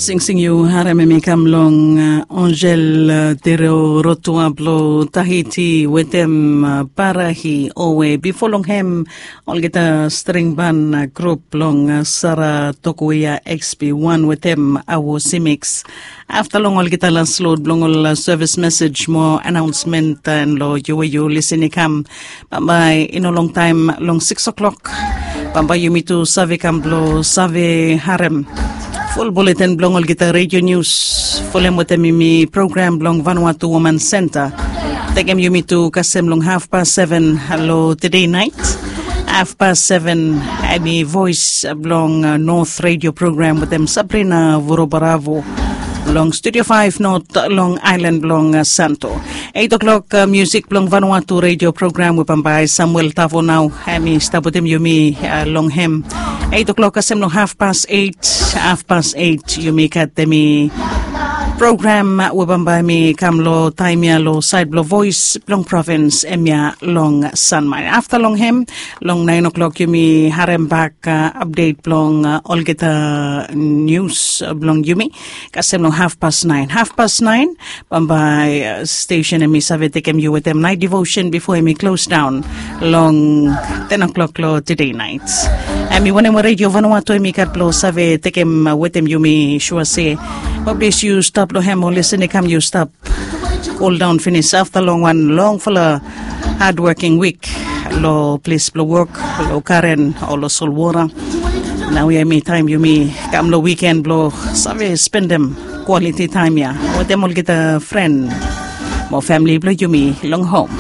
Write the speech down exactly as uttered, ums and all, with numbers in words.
Singsing yu harem em i kam long Angel Tero Rotua blo Tahiti wetem Parahi owe. Bifo long hem olgeta string ban grup blong Sara Tokuia X P one wetem Awo Simix. Afta long olgeta las lod blong ol sevis mesej mo anaonsmen, taem lo yu we yu lisin i kam bambae i no longtaem long sikis o'klok. Bambae yumi tu save kam blo save harem ful buleten blong olgeta redio nius, fulem wetem yumi program blong Vanuatu Woman Senta. Tekem yumi tu kasem long hafpas seven lo tede naet. Hafpas seven em i voes blong North Radio program wetem Sabrina Vorobaravo long Studio five North long aelan blong Santo. Eit o'klok, miusik blong Vanuatu Radio program we bambae Samuel Tavo nao em i stap wetem yumi long hem. Eit o'klok kasem long hafpas eit. Hafpas eit yumi gat em i program we bambae mi kam lo taem ya lo saed blo voes blong provins em ya long Sanmai. Afta long hem long naen o'klok yumi harem bak apdet blong olgeta nius blong yumi kasem long hafpas naen. Hafpas naen bambae stesen em i save tekem yu wetem naet devosen bifo em i klos daon long ten o'klok lo tede naet. Em i wanem we redio Vanuatu em i gat blo save tekem wetem yumi sua se, mo plis yu stap lo hem o lisin i kam yu stap kol daon finis afta long wan longfala hadwoking wik lo ples blo wok, lo garen o lo solwora. Naoia em i taem yumi kam lo wiken blo save spendem kwaliti taem ya wetem olgeta fren mo famili blo yumi long hom.